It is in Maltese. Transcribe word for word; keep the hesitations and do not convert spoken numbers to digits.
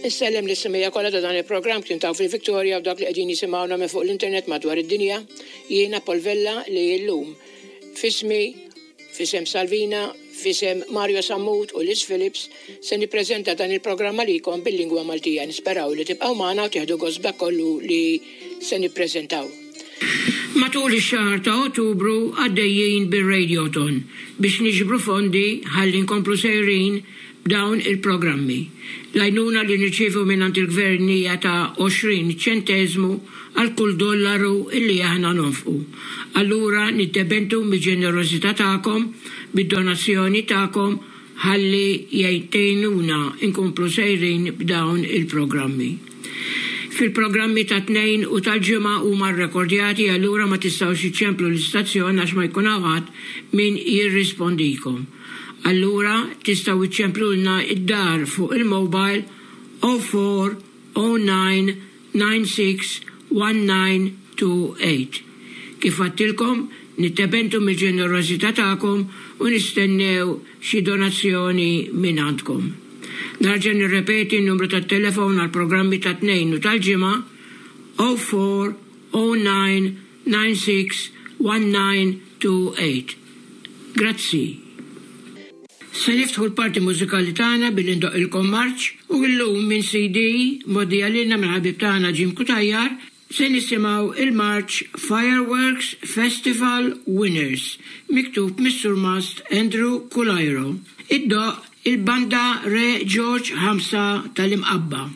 Insellem lis-semmiegħa kollha ta' dan il-programm kien taw fil-Victoria u dak li qegħdin jisimgħuna minn fuq l-internet madwar id-dinja. Jiena Paul Vella li llum f'ismi, f'isem Salvina, f'isem Mario Sammut u Liz Phillips se nippreżenta dan il-programm għalikom bil-lingwa Maltija. Nisperaw li tibqgħu magħna u tieħdu gost b'dak kollu li se nippreżentaw. Matul ix-xahar ta' Ottubru għaddejjin bir-Radiothon biex niġbru fondi ħalli nkomplu sejrin b'dawn il-programmi. L-għajnuna li nirċievu minn il-gvern hija ta' għoxrin ċenteżmu għal kull dollaru illi aħna nonfqu. Allura niddependu mill-ġenerożità tagħkom, bid-donazzjoni tagħkom ħalli jgħinuna nkomplu sejrin b'dawn il-programmi. Fil-programmi ta' Tnejn u tal-Ġimgħa huma rrekordjati, allura ma tistgħux iċċemplu l-istazzjon għax ma jkun hawn min jirrispondikom. Allura tistgħu iċċemplulna id-dar fuq il-mobile zero four zero nine nine six one nine two eight. Kif għedtilkom, niddependu mill-ġenerożità tagħkom u nistennew xi donazzjoni minn għandkom. Nerġa' nirrepeti n-numru tat-telefon għal programmi ta' Tnejn u tal-Ġimgħa: zero four zero nine nine six one nine two eight. Grazzi. Se niftħu l-parti mużikali tagħna billi ndoqqilkom marċ u llum minn C D mgħoddija lilna minn ħabib tagħna Jim Cutajar se nisimgħu il-marċ Fireworks Festival Winners miktub mis-Surmast Andrew Culairo. Iddoqq il-banda Re George Ħamsa tal-Imqabba.